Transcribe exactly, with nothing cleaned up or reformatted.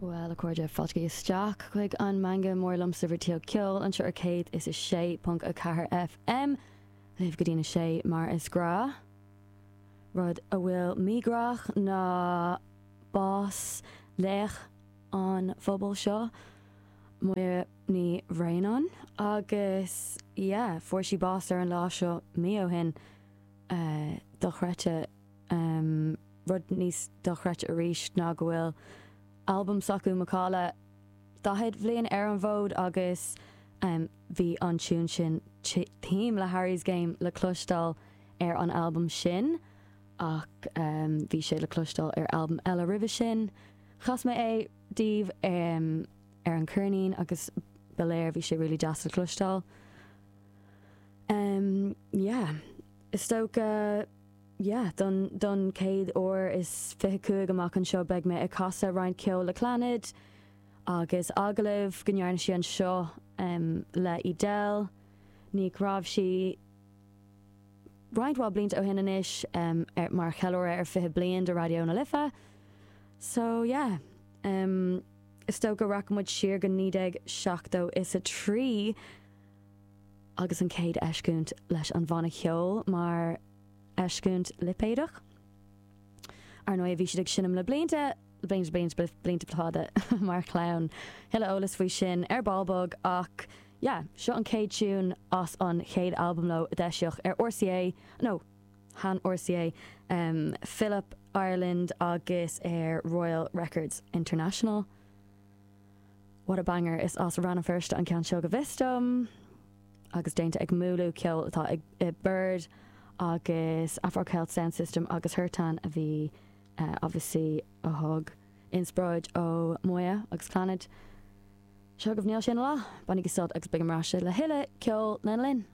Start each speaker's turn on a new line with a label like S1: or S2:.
S1: Well a chairde fáilte isteach chuig an Meangadh Mór liomsa Rté Ceol anseo ar céad is a sé ponc a ceathair FM libh go dtí a sé mar is gnách. Rud a bhfuil míghrách ná bás laoch an phobail seo Moya Ní Bhraonáin agus yeah, fuair sí bás ar an lá seo mí ó shin uh, dochreidte um, rud níos dochreidte arís ná go bhfuil albam s'acu Macalla daichead bliain ar an bhfód agus um, bhí an tune sin theme le Harry's Game le cloisteáil ar an albam sin ach um, bhí sé le cloisteáil ar albam eile roimhe sin. Chas mé é daoibh um, ar an cheirnín agus ba léir bhí sé really deas le cloisteáil. Um, yeah. Is dócha yeah, don, don céad uair is fiche cúig amach anseo beidh mé ag casadh roinnt ceol le Clannad agus agallamh go ndearna sí anseo um, le Edel ní raibh sí roinnt mhaith blianta ó shin anois um, ar, mar cheiliúradh ar fiche bliain de Raidió na Life. So yeah, um, is dócha rachaidh muid siar go naoi déag seachtó is a trí agus an chéad eisiúint leis an bhanna ceoil mar eisiúint lipéadach. Ar ndóigh bhí siad ag seinm le blianta blianta blianta blianta fada mar chlann. Tuilleadh eolas faoi sin ar ball beag ach yeah, seo an chéad tune as an chéad albam leo a d'eisíodh ar RCA no chan RCA um, Philip Ireland agus ar Royal Records International. What a banger is as Rann na Feirste an ceann seo go bhfios dom agus déanta ag múlú ceol atá ag i Bird agus Afro Celt Sound System agus Hurtan a bhí uh, obviously a thug inspioráid ó Moya agus Clannad. Seo agaibh Níl Sé Ina Lá, bainigí sult agus beidh mé ar ais le tuilleadh ceol lena linn.